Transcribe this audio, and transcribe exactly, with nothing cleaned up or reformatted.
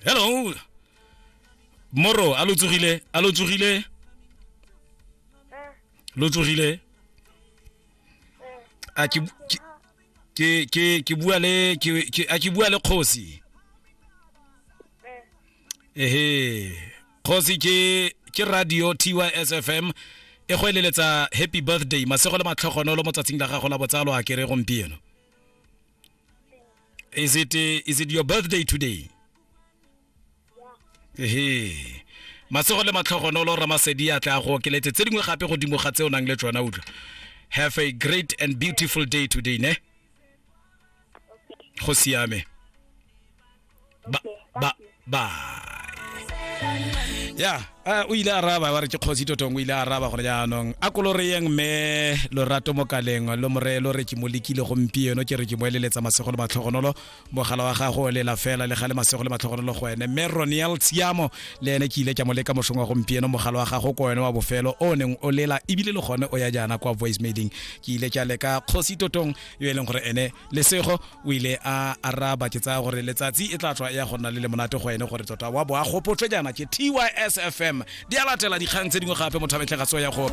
Hello moro, a lo tsogile? A lo tsogile? Lo tsogile? A ke ke ke ke bua le ke a ke bua le kgosi? Ehe, kgosi, ke ke radio T Y S F M e go eleletsa happy birthday, masego le matlhogonolo mo tsatsing la gago la botsalo. A kere gompieno, is it is it your birthday today? Ehe, masego le matlhogonolo, Ramasedi a tla go okeletse tse dingwe gape godimo ga tse o nang le tsona. Utlwa, have a great and beautiful day today, ne? Go siame. Ba ba bye. Ya, o ile a araba wa re ke kgosi Totong. O ile a araba gore jaanong a koloreyeng mme Lorato Mokaleng lo more lo re ke mo lekile gompieno, ke re ke mo eleletsa masego le matlhogonolo, mogala wa gago o lela fela le gale. Masego le matlhogonolo go ene. Mme Roniel Tshiamo le ene ke ile ke mo leka mošong wa gompieno, mogala wa gago ko wene wa bofelo o neng o lela, ebile le gone o ya jaana kwa voice mailing. Ke ile ke a leka kgosi Totong yo e leng gore ene lesego o ile a araba. Ke tsaya gore letsatsi e tla tswa ya go nna le le monate go ene, gore tota wa bo a gopotswe jaana ke T Y S F M. Di a latela dikgang tse dingwe gape, motho a metlhe ga tso ya go